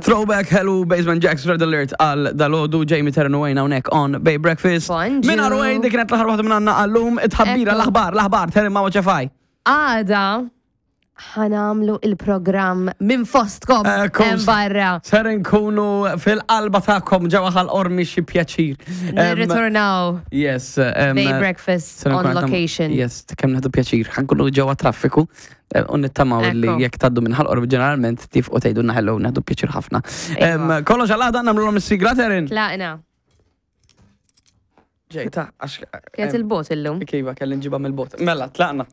Throwback Hello Basement Jacks Red Alert għal dalodu Jamie Terran u Wayne hawnhekk on Bay Breakfast. Bonġu. Minn Wayne dik kienet l-aħħar waħda minn għandna għallum it-tħabbira Ekku. l-aħbar l-aħbar Terran ma' ċefaj. Għada ħanamlu il-programm minn fostkom Ekku. hemm barra. Ser nkunu fil-qalba tagħkom ġewwa ħal-qormi xi pjaċir. Em, Nirritornaw Yes. em, Bay Breakfast ser on nkun għandna- location. Yes, kemm naħdu pjaċir. Ħankunu ġewwa traffiku eh, u nittamaw li Ekku. jekk taddu minn ħal-qormi ġeneralment tifqu tgħidulna hello naħdu pjaċir ħafna. Em, Iva. Kollox għal għada nagħmluhom is-sigla Terin. Tlaqna. Ġejta, għax. Kienet il-bot illum. Kiva, kelli nġiba mill-bot. Mela, tlaqna.